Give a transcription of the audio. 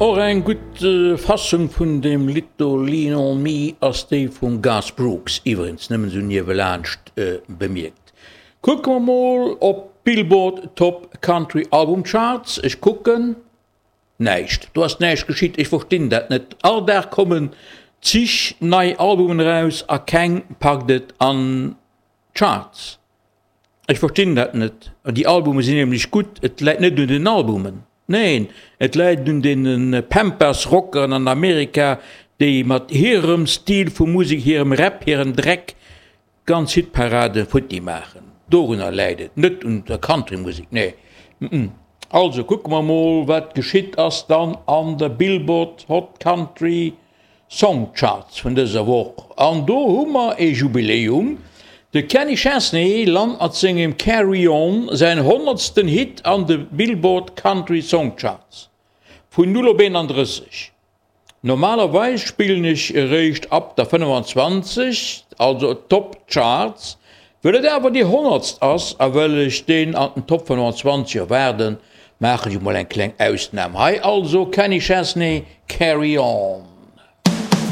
Och eng gutt Fassung vun deem Lidd do Lean on Me ass déi vum Garth Brooks, iwwerens nëmmen esou niewelaanscht bemierkt. Kucke mer mol op d'Billboard Top Country Album Charts. Ech kucken, näischt. Do ass näischt geschitt. Ech verstinn dat net. All Dag kommen zig nei Albumen eraus a keng packt et an d'Charts. Ech verstinn dat net. Déi Albume sinn nämlech gutt. Et läit net un den Albumen. Neen, et läit un deene Pampas-Rockeren an Amerika, déi mat hirem Stil vu Musek, hirem Rap, hirem Dreck d'ganz Hitparade futti maachen. Dorunner läit et, net un der Country-Musek, nee. Also kucke mer mol, wat geschitt ass dann an der Billboard Hot Country Songcharts vun dëser Woch an do hu mer ee Jubiläum, De Kenny Chesney lant mat sengem Carry On säin honnertsten Hit an de Billboard Country Songcharts, vun 0 op 31. Normalerweis spillen ech eréischt ab der 25, also Top Charts, Well et awer déi honnertst ass a well ech deen an den Top 25 erwaarden, maachen ech emol eng kleng Ausnam. Hei also Kenny Chesney, Carry On.